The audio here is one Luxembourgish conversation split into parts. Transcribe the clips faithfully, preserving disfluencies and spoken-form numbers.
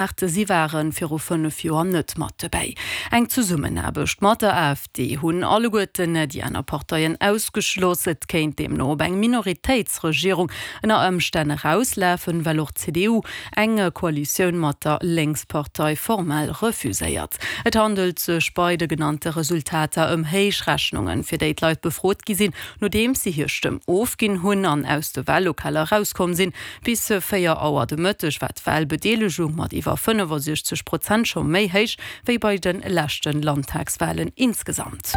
Si ware viru fënnef Joer net mat dobäi. Eng Zesummenaarbecht mat der AfD hunn alleguerten déi aner Parteien ausgeschloss. Et kéint deemno op eng Minoritéitsregierung ënner Ëmstänn erauslafen, well och d'CDU eng Koalitioun mat der Lénkspartei formell refuséiert. Et handelt sech bei de genannte Resultater ëm Héichrechnungen, fir déi d'Leit befrot gi sinn, nodeems si hir Stëmm ofginn hunn an aus de Wallokaler erauskomm sinn. Bis véier Auer de Mëtteg war d'Walbedeelegung mat iwwer fënnefosechzeg Prozent scho méi héich wéi bei de leschte Landtagswalen insgesamt.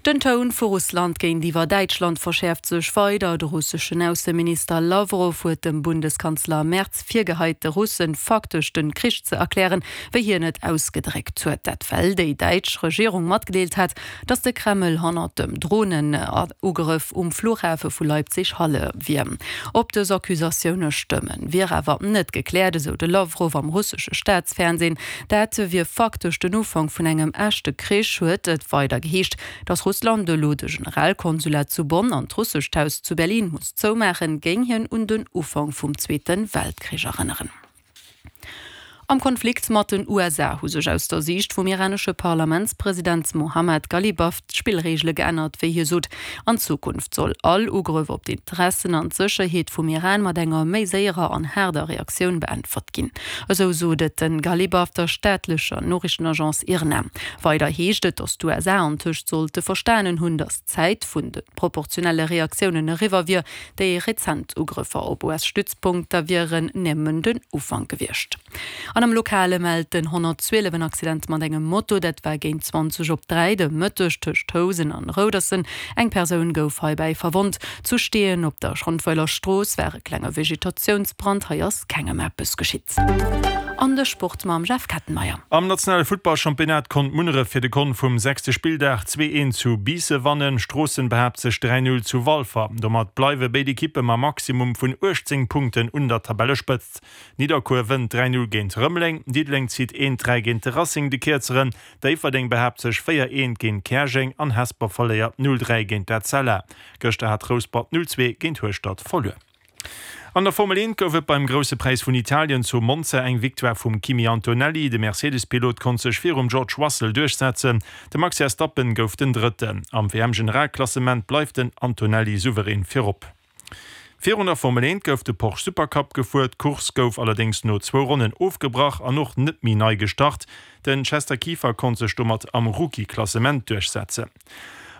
Den Toun vu Russland géintiwwer Däitschland verschäerft sech weider. De russeschen Ausseminister Lawrow huet dem Bundeskanzler Merz virgeheit, de Russen faktesch de Krich ze erklären, wéi hien et ausgedréckt huet. Dat well déi däitsch Regierung matgedeelt hat, datt de Kreml hannert dem Dronenugrëff um Flughafe vu Leipzig-Halle wier. Ob dës Accusatioune stëmmen, wier awer net gekläert, esou de Lawrow am russesche Staatsfernsehen. Dat wier faktesch den Ufank vun engem echte Krich, huet et weider geheescht. Datt Russland elo de Generalkonsulat zu Bonn an d'Russescht Haus zu Berlin muss zoumaachen, géing hien un den Ufank vum Zweete Weltkrich erënneren. Am Konflikt mat den U S A hu sech aus der Siicht vum iranesche Parlamentspresident Mohammad Ghalibaf d'Spillreegele geännert, wéi hie sot. An Zukunft soll all Ugrëff op d'Interessen an d'Sécherheet vum Iran mat enger méi séierer an haarder Reaktioun beäntwert ginn. Esou sot et de Ghalibaf der staatlecher Noriichtenagence IRNA. Weider heescht et, datt d'U S A antëscht sollte verstanen hunn, datt d'Zäit vun de proportionelle Reaktiounen eriwwer wier. Déi rezent Ugrëffer op U S-Stützpunkter wieren nëmmen den Ufank gewiescht. An am Lokale mellt den honnertzwielef en Accident mat engem Moto, dat war géint zwanzeg op dräi de Mëtteg tëscht Housen an Roudersen. Eng Persoun gouf heibäi verwonnt. Zu Steeën op der Schanfweiler Strooss war e klenge Vegetatiounsbrand, hei ass kengem eppes geschitt. An de Sport mam Jeff Kettenmeyer. Am nationale Futtballchampionnat konnt Munneref fir de Kont vum sechste Spilldag zwee eent zu Biissen wannen. Stroossen behaapt sech dräi null zu Walfer. Domat bleiwe béid Ekippe mam Maximum vun uechtzéng Punkten un der Tabellespëtzt. Nidderkuer wënnt dräi null géint Rëmeleng, Diddeleng zitt eent dräi géint de Racing de Kierzeren, Déifferdeng behaapt sech véier eent géint Käerjeng an Hesper verléiert null dräi géint d'Etzella. Gëschter hat Rouspert null zwee géint Hueschtert verluer. An der Formel eent gouf et beim Grousse Präis vun Italien zu Monza eng Victoire vum Kimi Antonelli. De Mercedes-Pilot konnt sech virum George Russell duerchsetzen. De Max Verstappen gouf den Drëtten. Am W M-Generalklassement bleift den Antonelli souverän virop. Virun der Formel eent gouf de Porsche Supercup gefuer. D'Course gouf allerdéngs no zwou Ronnen ofgebrach an och net méi nei gestart. Den Chester Kieffer konnt sech domat am Rookie-Klassement duerchsetzen.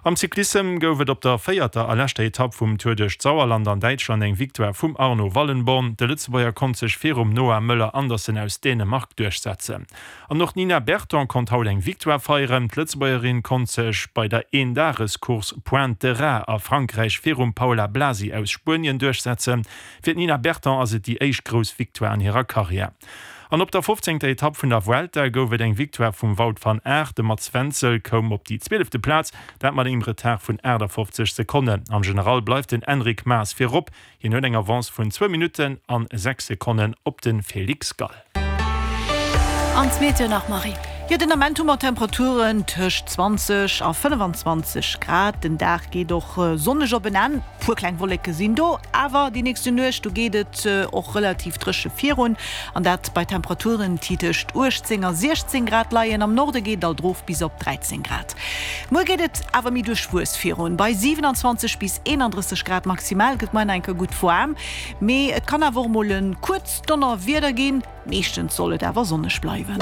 Am Cyclissem gouf et op der véierter a leschter Etapp vum Tour duerch d'Sauerland an Däitschland eng Victoire vum Arno Wallenborn. De Lëtzebuerger konnt sech virum Noah Möller Andersen aus Dänemark duerchsetzen. An och d'Nina Berton konnt haut eng Victoire feieren. D'Lëtzebuergerin konnt sech bei der Eendagescourse Pointe de Raz a Frankräich virum Paula Blasi aus Spuenien duerchsetzen. Fir d'Nina Berton ass et déi éischt grouss Victoire an hirer Karriär. An op der fofzéngter Etapp vun der Vuelta gouf et eng Victoire vum Wout van Aert. De Mats Wenzel koum op déi zwielefte Plaz, dat mat engem Retard vun aachtafoffzeg Sekonnen. Am General bleift den Enric Mas virop, hien huet eng Avance vun zwou Minutten an sechs Sekonnen op de Felix Gall. An d'Meteo nach, Marie. Jo, den Ament hu mer Temperaturen tëscht zwanzeg a fënnefenzwanzeg Grad. Den Dag geet och sonneg op en Enn, puer kleng Wolleke sinn do, awer déi nächste Nuecht, do geet et och relativ dréche virun, an dat bei Temperaturen, déi tëscht uechtzéng a siechzéng Grad leien. Am Norde geet et alt erof bis op dräizéng Grad. Muer geet et awer méi duerchwuess virun, bei siwenanzwanzeg bis eenandrësseg Grad maximal gëtt muer nach eng Kéier gutt waarm, mee et kann awer och mol e kuerzt Donnerwieder ginn. Meeschtens soll et awer sonneg bleiwen.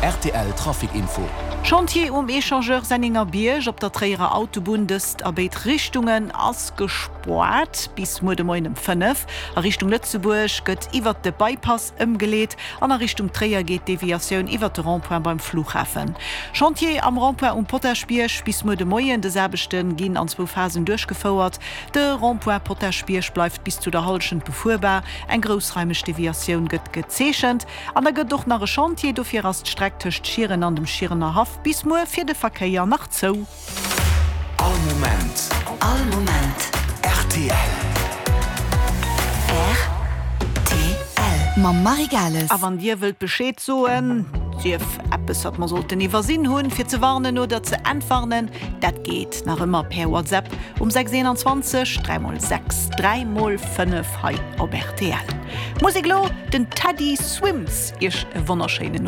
R T L Trafic Info. Chantier um Echangeur Sennengerbierg op der Tréierer Autobunn, dëst a béid Richtungen ass gespoart bis muer de Moien ëm fënnef. A Richtung Lëtzebuerg gëtt iwwert de Bypass ëmgeleet an a Richtung Tréier geet d'Deviatioun iwwert de Rond-point beim Flughafen. Chantier am Rond-point um Potaschbierg bis muer de Moien, dës Aarbechte ginn an zwou Phasen duerchgefouert. De Rond-point Potaschbierg bleift bis zu der Hallschent befuerbar, eng groussraimeg Deviatioun gëtt gezeechent an da gëtt och nach e Chantier, dofir ass d'Streck tëscht Schieren an dem Schierener Haff bis muer fir de Verkéier nach zou. All Moment. All Moment. R T L. R T L. Mam Marie Gales. A wann Dir wëllt Bescheed soen, Sief eppes wat mer sollten iwwersinn hunn, fir ze warnen oder ze entwarnen, dat geet nach ëmmer per WhatsApp um sechs einundzwanzeg dräi mol sechs dräi mol fënnef hei op rtl. Musek elo, den Teddy Swims. Iech e wonnerschéinen.